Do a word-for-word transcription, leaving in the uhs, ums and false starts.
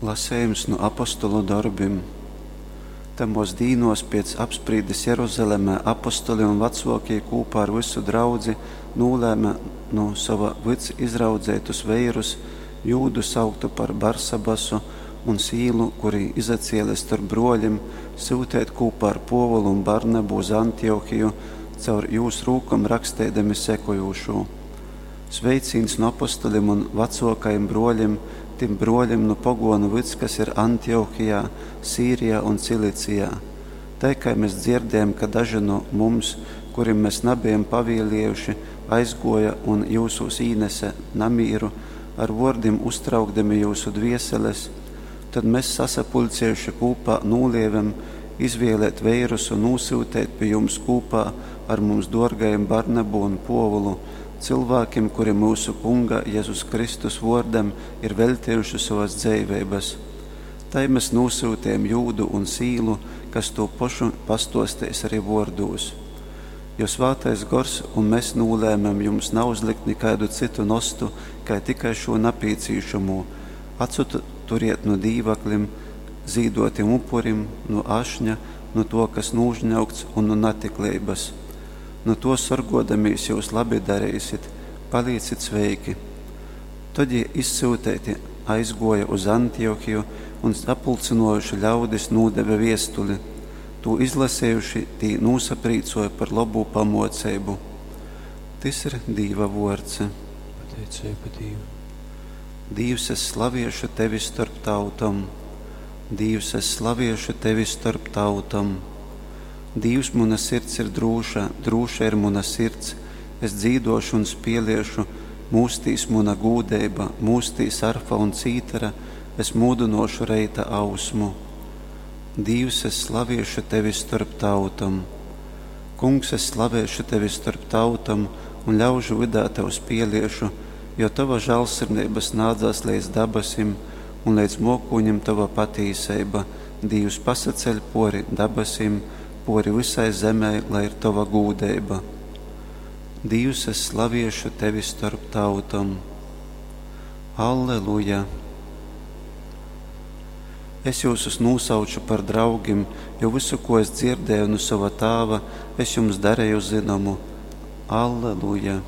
Lasejums nu Apostolu dorbim. Tamōs dīnōs pēc apsprīdes Jeruzalemē apostoli un vacōkī kūpā ar vysu draudzi nūlēme nu sova vyds izraudzeitus veirus, Jūdu, sauktu par Barsabasu, un Sīlu, kuri izacēle storp brōlim, syuteit kūpā ar Pōvulu un Barnabu uz Antiochiju, caur jūs rūkom raksteidami sekojūšū. Sveicīņs nu apostolim un vacōkajim brōlim tim brōlim nu pogōnu vyds, kas ir Antiochijā, Sīrijā un Cilicijā. Tai kai mes dzierdējam, ka daži nu mums, kurim mes nabejam pavieliejuši, aizgōja un jyusūs īnese namīru, ar vōrdim uztraukdami jyusu dvieseles, tod mes, sasapuļciejuši kūpā, nūlievem izvielēt veirus un nūsyuteit pi jums kūpā ar mums dōrgajim Barnabu un Pōvulu, cylvākim, kuri myusu Kunga Jezus Kristus vōrdam ir veļtejuši sovas dzeiveibas. Tai mes nūsyutejom Jūdu un Sīlu, kas tū pošu pastōsteis ari vōrdūs. Jo Svātais Gors un mes nūlēmem jums nauzlikt nikaidu cytu nostu, kai tikai šū napīcīšamū, atsaturiet nu dīvaklim, zīdōtim upurim, nu ašņa, nu tō, kas nūžņaugts, un nu natikleibas. Nu tō sorgōdamīs jyus labi dareisit. Palīcit sveiki! Tod jī izsyuteiti aizgōja uz Antiochiju un, sapulcynōjuši ļaudis, nūdeve viestuli. Tū izlasejuši, tī nūsaprīcōja par lobū pamōceibu. Tys ir Dīva vōrds. Pateiceiba Dīvam. Dīvs, es slaviešu tevi storp tautom. Dīvs, es slaviešu tevi storp tautom. Dīvs, muna sirds ir drūša, drūša ir muna sirds, es dzīdōšu un spieliešu, mūstīs muna gūdeiba, mūstīs arfa un cītara, es mūdynōšu reita ausmu. Dīvs, es slaviešu tevi storp tautom. Kungs, es slavēšu tevi storp tautom un ļaužu vydā tev spieliešu, jo tova žālsirdeiba snādzās leidz dabasim un leidz mōkūņim tova patīseiba. Dīvs, pasaceļ pōri dabasim, pōri vysai zemei, lai ir tova gūdeiba. Dīvs, es slaviešu tevi storp tautom. Alleluja! Es jyusus nūsauču par draugim, jo vysu, ko es dzierdēju nu sova Tāva, es jums dareju zynomu. Alleluja!